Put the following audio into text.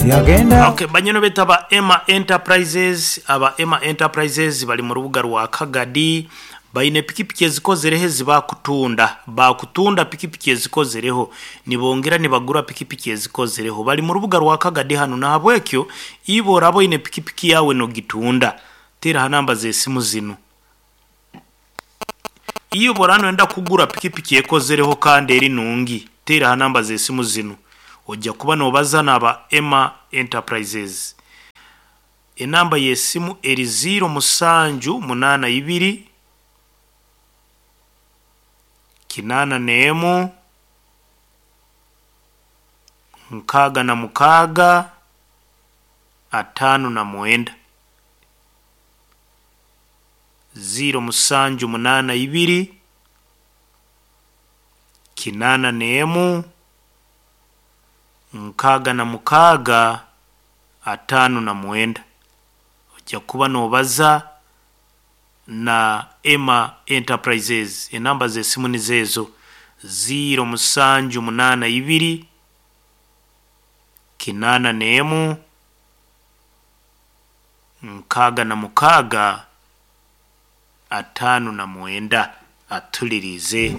Yagenda. Okay, banyino betu aba Emma Enterprises, aba Emma Enterprises bali mu rubuga rwa Kagadi, baine pikipiki ezikozereho ezibakutunda, bakutunda pikipiki ezikozereho, nibongera nibagura pikipiki ezikozereho. Bali mu rubuga rwa Kagadi hanu nahabwekyo iwe oraba oine pikipiki yawe nogitunda, teera ha namba z'esimu zinu. Iwe bworaba noyenda kugura pikipiki ekozereho kandi eri nungi, teera ha namba z'esimu zinu. Ojja kuba nobaza n'aba Emma Enterprises. Enamba y'esimu eri 0782 81 66 59. 0782 81 66 59. Ojja kuba nobaza na Emma Enterprises. Enamba z'esimu nizo ezo 0782 81 66 59. Atulirize.